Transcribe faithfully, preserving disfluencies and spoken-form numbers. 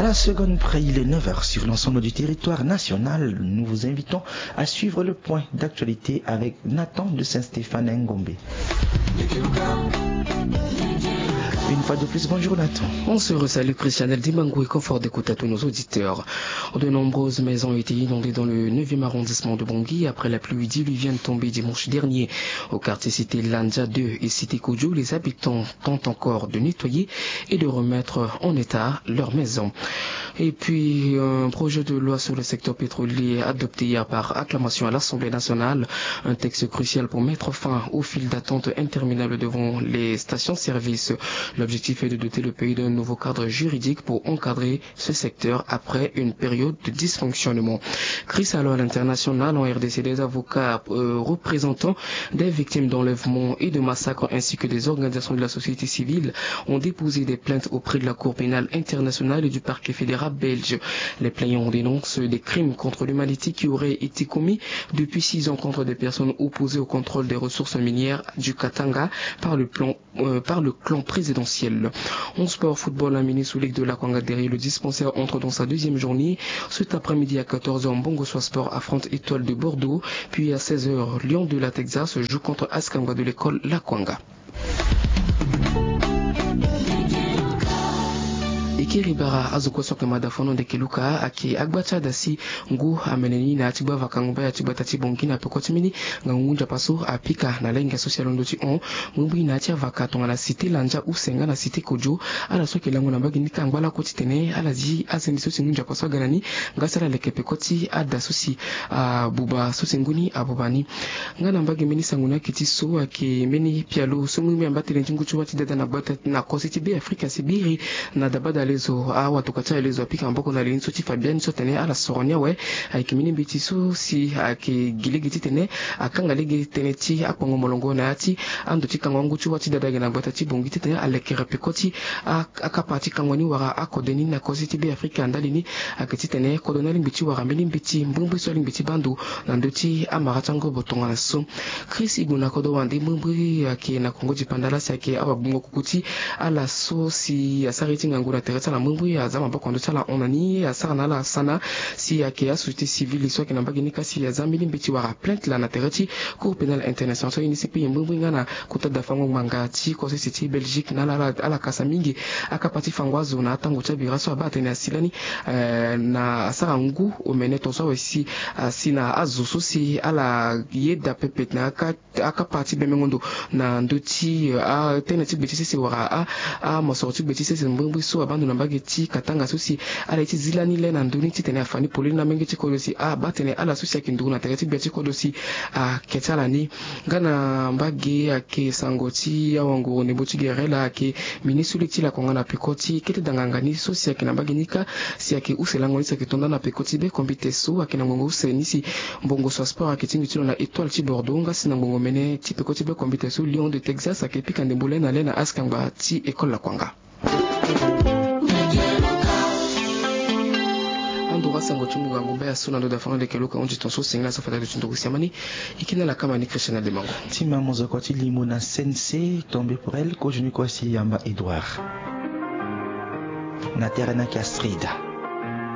La seconde près, il est neuf heures sur l'ensemble du territoire national. Nous vous invitons à suivre le point d'actualité avec Nathan de Saint-Stéphane Ngombe. Une fois de plus, bonjour Nathan. On se resalue, Christian El Dimango, et confort d'écoute à tous nos auditeurs. De nombreuses maisons ont été inondées dans le neuvième arrondissement de Bangui après la pluie diluvienne tombée dimanche dernier. Au quartier cité Lanja deux et cité Kodjo, les habitants tentent encore de nettoyer et de remettre en état leur maison. Et puis, un projet de loi sur le secteur pétrolier adopté hier par acclamation à l'Assemblée nationale, un texte crucial pour mettre fin aux files d'attente interminables devant les stations-service. L'objectif est de doter le pays d'un nouveau cadre juridique pour encadrer ce secteur après une période de dysfonctionnement. Crise alors à l'international. En R D C, des avocats, euh, représentants des victimes d'enlèvement et de massacres ainsi que des organisations de la société civile ont déposé des plaintes auprès de la Cour pénale internationale et du parquet fédéral belge. Les plaignants dénoncent des crimes contre l'humanité qui auraient été commis depuis six ans contre des personnes opposées au contrôle des ressources minières du Katanga par le plan euh, par le clan présidentiel. En sport, football, un mini sous ligue de Lakwanga derrière le dispensaire entre dans sa deuxième journée. Cet après-midi à quatorze heures, Mbongo Soa Sport affronte Étoile de Bordeaux. Puis à seize heures, Lion de la Texas joue contre Askangba de l'école Lakwanga. E kiri bara azo kue so ayeke mada fano ndeke luka ayeke agba ti ada si ngu amene ni na ya ti gba vakango baya ti gbata ti Bangui na peko ti mbeni ngangu ngu nzapa so apika na lenga so si alondo ti hon. Mbrimbri na ya ti avaka tongana cité Lanja use nga na cité Kodjo. Ala so ayeke lango na mbage ni ka angba lakue titene ala zi azende so si ngu nzapa so aga na ni nga si ala leke peko ti ada so si abuba so si ngu ni abuba ni. Nga na mbage mbeni sango ni ayeke ti so ayeke mbeni pialo so mbrimbri amba tënë ti ngu ti wâ ti dada na gbata na kose ti Beafrika si biri na dabada lezo awatoka ti ala lezo apika maboko na li ni so ti fa biani so atene ala soro ni awe. Ayeke mbeni mbeti so si ayeke gi lege titene akanga lege tënë ti akpongo molongo na ya ti ando ti kango angu ti wâ ti dada ayeke na gbata ti Bangui titene alekere peko ti a- akapa ti kango ni wala akode ni na kose ti Beafrika ndali ni. Ayeke titene kodro ni alingbi ti wara mbeni mbeti mbrimbri so alingbi ti baa ndo na ndö ti amara ti angobo tongana so. Chris Igbo na kodro wande mbrimbri ayeke na kongo dipanda laa si ayeke awagbongo kuku ti ala so si asara ye ti ngangu na tere ti ala mbrimbri aza maboko na ndö ti ala hon na ni asara na ala sana. Si ayeke asociété civile so ayeke na mbage ni ka si aza mbeni mbeti wara plainte laa na tere ti Cour pénale internationale so aye ni si kpe ye mbrimbri nga na kota dafango ngbanga ti kose si ti Belgique na ala ala kasa mingi. Akapa ti fango azo na atango ti abira so abaa atene asi lani eh, na asara ngu omene tongaso awe si asi na azo so si ala yeda pepe na aka akapa ti bemengo ndo na ndö ti eh, atënë ti gbe ti sese wala a- amosoro ti gbe ti sese mbrimbri so abaa ndo na mbage ti Katanga so si ala ye ti zi lani le na ndö ni titene afa ni polele na menge ti kodro si abaa tene ala so si ayeke nduru na tere ti gbia ti kodro si ayeke ti ala ni. Nga na mbage ayeke sango ti awanguru ndembo ti gere laa ayeke ministre ti lakonga na peko ti kete danganga ni so si ayeke na mbage ni kâ si ayeke use lango ni si ayeke to nda na peko ti be kombite so ayeke na ngongo use ni si Mbongo Soa Sport ayeke tingbi ti lo na Étoile ti Bordeaux nga si na ngongo mene ti peko ti be kombite so Lion de Texas ayeke pika ndembo le na le na askangba ti école lakonga. Andoro asango ti mungangu baya so na ndo dafango leke luka hundi tongaso sengela so fata duti nduru siamani. Ike na lakama ni Christian Ademango. Ti ma mozoko ti limo na C N C, tombé pour elle, kozo ni kue si yamba Edouard. Na tere na ki Astrida.